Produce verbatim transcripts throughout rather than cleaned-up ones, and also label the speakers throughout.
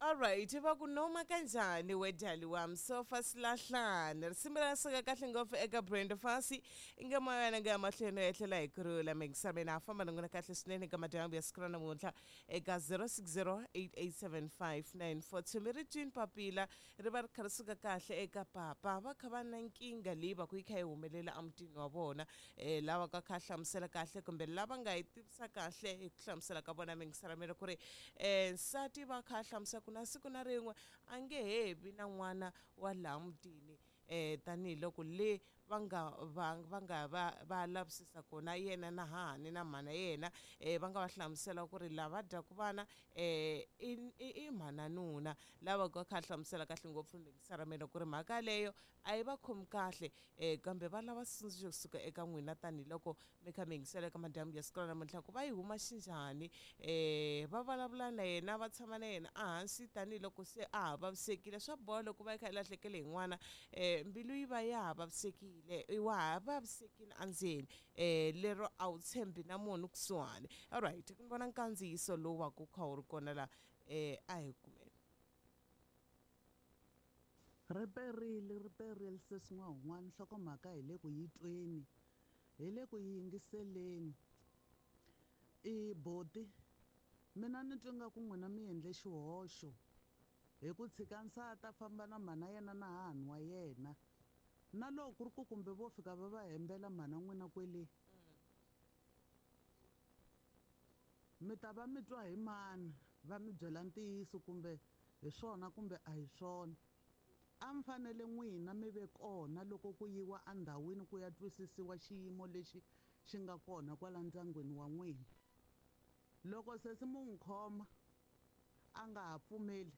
Speaker 1: Alright, va ku noma kanjhani we dali wami sofa silahlane risimu ra suka kahle ngopfu eka Brenda Fassie i nga moya wena nga ya mahlweni ya tlhela hi kurhula mingisa mina a famba na n'wina kahle swinene eka madyambu ya siku ra namuntlha eka zero six zero eight eight seven five nine four two mi ri twini papila ri va ri kha ri suka kahle eka papa va kha va na nkingha leyi va ku yi kha yi humelela emutini wa vona um lava ka kha hlamusela kahle kumbe lava nga yi tivisa kahle hi ku hlamusela ka vona mingisela mina ku ri um nsati va kha hlamusela ku na siku na rin'we a nge he vi na n'wana wa laha mutini um tanihiloko le va nga va va nga va va lavisisa kona yena na hahani na mhana yena um va nga va hlamusela ku ri lava dyaku vana um i i mhana nuna lava ka kha hlamusela kahle ngopfu mingisa ra mina ku ri mhaka yaleyo a yi va khomi kahle um kambe va lava xitsundzuxo kusuka eka n'wina tanihiloko mi kha mi yingisela eka madyambu ya siku ra namuntlha ku va yi huma xinjhani um va vulavula na yena va tshama na yena ehansi tanihiloko se a ha vavisekile swa boha loko va yi kha yi lahlekele hi n'wana um mbilu yi va ya ha vavisekile wa ha vavisekile endzeni um lero a wu tshembi na munhu kusuhani. Alright, ku ni vona nkandziyiso lowu wa ku kha wu ri kona la um a hi kumeni.
Speaker 2: Ri perile ri perile sesi n'wahun'wana nhlokomhaka hi le ku yi tweni hi le ku yi yingiseleni i boti mina ni twa nga ku n'wina mi endle xihoxo hi ku tshika nsati a famba na mhana yena na hahani wa yena na loko ku ri ku kumbe vo fika va va hembela mhana n'wina kwele mi ta va mi twa hi mani va mi byela ntiyiso kumbe hi swona kumbe a hi swona. A mi fanele n'wina mi ve kona loko ku yiwa endhawini ku ya twisisiwa xiyimo lexi xi nga kona kwala ndyangwini wa n'wina. Loko sesi mu n'wi khoma a nga ha pfumeli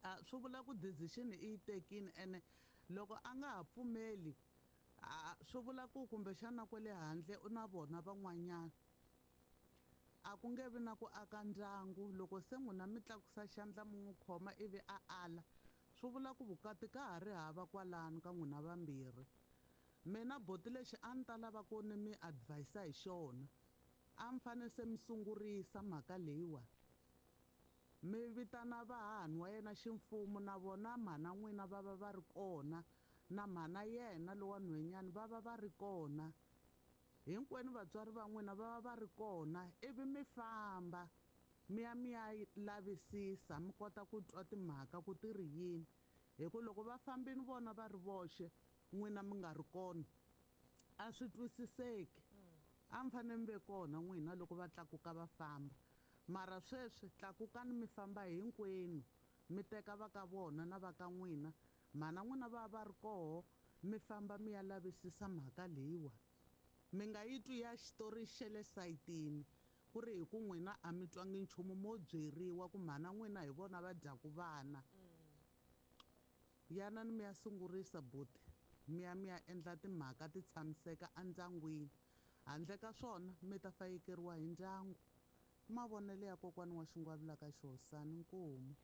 Speaker 2: a swi vula ku decision i yi tekile ene loko a nga ha pfumeli a swi vula ku kumbexana kwale handle u na vona van'wanyana. A ku nge vi na ku aka ndyangu loko se n'wina mi tlakusa xandla mi n'wi khoma ivi a ala swi vula ku vukati ka ha ri hava kwalano ka n'wina vambirhi. Mina boti lexi a ni ta lava ku ni mi advise hi xona a mi fanele se mi sungurisa mhaka leyiwa mi vitana vahahani wa yena ximfumo na vona mhana n'wina va va va ri kona na mhana yena lowa nhwenyani va va va ri kona hinkwenu vatswari va n'wina va va va ri kona ivi mi famba mi ya mi ya lavisisa mi kota ku twa timhaka ku ti ri yini hi ku loko va fambini vona va ri voxe n'wina mi nga ri kona a swi twisiseki. A mi fanele mi ve kona n'wina loko va tlakuka va famba mara sweswi tlakukani mi famba hinkwenu mi teka va ka vona na va ka n'wina mhana n'wina va va ri koho mi famba mi ya lavisisa mhaka leyiwa mi nga yi twi ya xitori xa le sayitini ku ri hi ku n'wina a mi twangi nchumu mo byeriwa ku mhana n'wina hi vona va dyaku vana. Yanani mi ya sungurisa buti mi ya mi ya endla timhaka ti tshamiseka endyangwini handle ka swona mi ta fayekeriwa hi ndyangu. Mavonelo ya kokwani wa xingwavila ka xihosani nkomu.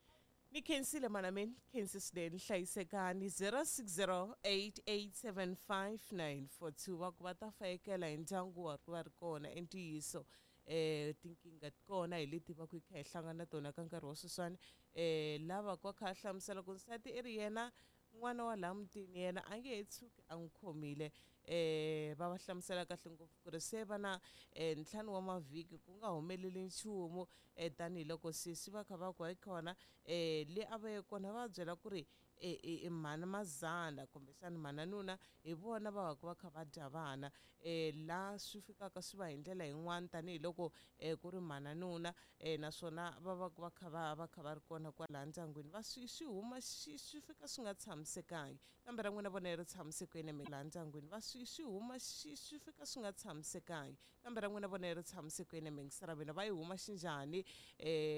Speaker 1: Ni khensile mana mina khensi swinene hlayisekani zero six zero eight eight seven five nine four two va ku va ta fayekela hi ndyangu wa va ri kona i ntiyiso um tinkingha ti kona hi leti va ku hi kha hi hlangana na tona ka nkarhi wa sweswiwani um lava ku va kha a hlamusela ku nsati i ri yena n'wana wa laha mutini yena a nge he tshuki a n'wi khomile um va va hlamusela kahle ngopfu ku ri se va na um ntlhanu wa mavhiki ku nga humeleli nchumu um tanihiloko sesi va kha va ku hayi kona um le a va ye kona va byela ku ri i mhana mazana kumbexana mhana nuna hi vona va va ku va kha va dya vana um laha swi fikaka swi va hi ndlela yin'wani tanihiloko um ku ri mhana nuna um naswona va va ku va kha va va kha va ri kona kwalaha ndyangwini va swi swi huma swi swi fika swi nga tshamisekangi kambe ra n'wina vona ri tshamisekile mi laha ndyangwini va swi swi huma swi swi fika swi nga tshamisekangi kambe ra n'wina vona ri tshamisekile mingisela mina va yi huma xinjhani um